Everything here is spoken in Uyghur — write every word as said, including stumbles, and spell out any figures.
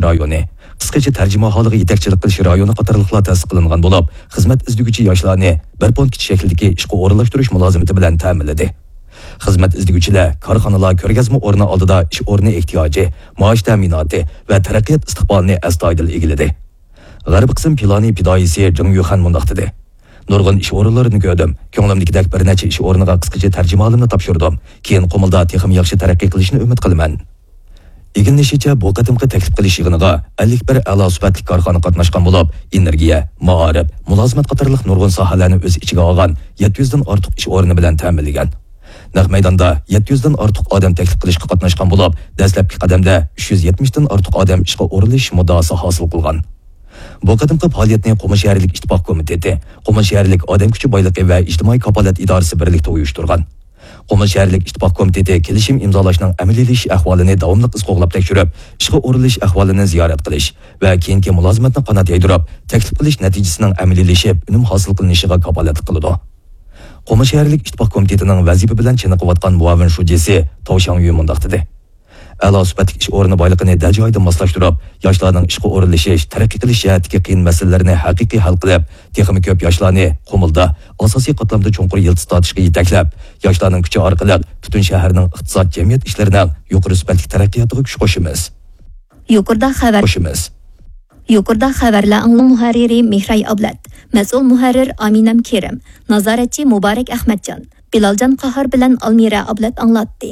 رايونى، قىسقىچە تەرجىمىھالىغا يېتەكچىلىك قىلىش رايونى قاتارلىقلار تەسىس قىلىنغان بولۇپ، خىزمەت ئىزدىگۈچى ياشلارنى بىر پونكىت شەكلىدىكى ئىشقا ئورۇنلاشتۇرۇش مۇلازىمىتى بىلەن تەمىنلىدى. خىزمەت ئىزدىگۈچىلەر كارخانىلار كۆرگەزمە ئورنى ئالدىدا ئىش ئورنى ئېھتىياجى، مائاش تەمىناتى ۋە تەرەققىيات ئىستىقبالىنى ئەستايىدىل ئىگىلىدى. غەربىي قىسىم پىلانى پىدائىيسى جېڭ يۈخەن مۇنداق دېدى: نۇرغۇن ئىش ئورۇنلىرىنى كۆردۈم. كۆڭلۈمدىكىدەك بىر نەچچە ئىش ئورنىغا قىسقىچە تەرجىمىھالىمنى تاپشۇردۇم. كېيىن قۇمۇلدا تېخىمۇ ياخشى تەرەققىي قىلىشنى ئۈمىد قىلىمەن. ئىگىلىنىشىچە، بۇ قېتىمقى تەكلىپ قىلىش يىغىنىغا ئەللىك بىر ئەلا سۈپەتلىك كارخانا قاتناشقان بولۇپ، ئېنېرگىيە، مائارىپ، مۇلازىمەت قاتارلىق نۇرغۇن ساھەلەرنى ئۆز ئىچىگە ئالغان يەتتە يۈزدىن ئارتۇق ئىش ئورنى بىلەن تەمىنلىگەن. نەق مەيداندا يەتتە يۈزدىن ئارتۇق ئادەم تەكلىپ قىلىشقا قاتناشقان بولۇپ، دەسلەپكى قەدەمدە ئۈچ يۈز يەتمىشتىن ئارتۇق ئادەم ئىشقا ئورۇنلىشىش مۇددىئاسى ھاسىل قىلغان. بۇ قېتىمقى پائالىيەتنى قۇمۇل شەھەرلىك ئىتتىپاق كومىتېتى، قۇمۇل شەھەرلىك ئادەم كۈچى بايلىقى ۋە ئىجتىمائىي كاپالەت ئىدارىسى بىرلىكتە ئۇيۇشتۇرغان. قۇمۇل شەھەرلىك ئىتتىپاق كومىتېتى كېلىشىم ئىمزالاشنىڭ ئەمەلىيلىشىش ئەھۋالىنى داۋاملىق ئىز قوغلاپ تەكشۈرۈپ، ئىشقا ئورۇنلىشىش ئەھۋالىنى زىيارەت قىلىش ۋە كېيىنكى مۇلازىمەتنى قانات يايدۇرۇپ، تەكلىپ قىلىش نەتىجىسىنىڭ ئەمەلىيلىشىپ، ئۈنۈم ھاسىل قىلىنىشىغا كاپالەتلىك قىلىدۇ. قۇمۇل شەھەرلىك ئىتتىپاق كومىتېتىنىڭ ۋەزىپە بىلەن چېنىقىۋاتقان مۇئاۋىن شۇجىسى تاۋ شاڭيۈ مۇنداق دېدى: ئەلا سۈپەتلىك ئىش ئورنى بايلىقىنى دەل جايىدا ماسلاشتۇرۇپ، ياشلارنىڭ ئىشقا ئورۇنلىشىش، تەرەققىي قىلىش جەھەتتىكى قىيىن مەسىلىلەرنى ھەقىقىي ھەل قىلىپ، تېخىمۇ كۆپ ياشلارنى قۇمۇلدا ئاساسىي قاتلامدا چوڭقۇر يىلتىز تارتىشقا يېتەكلەپ، ياشلارنىڭ كۈچى ئارقىلىق پۈتۈن شەھەرنىڭ ئىقتىساد، جەمئىيەت ئىشلىرىنىڭ يۇقىرى سۈپەتلىك تەرەققىياتىغا كۈچ قوشىمىز. يۇقىرىدا خەۋەر. قوشىمىز. يۇقىرىدا خەۋەرلەر ئاڭلىڭ. مۇھەررىرى مېھراي ئابلەت، مەسئۇل مۇھەررىر ئامىنەم كېرىم، نازارەتچى مۇبارەك ئەخمەتجان، بىلالجان قاھار بىلەن ئالمىرە ئابلەت ئاڭلاتتى.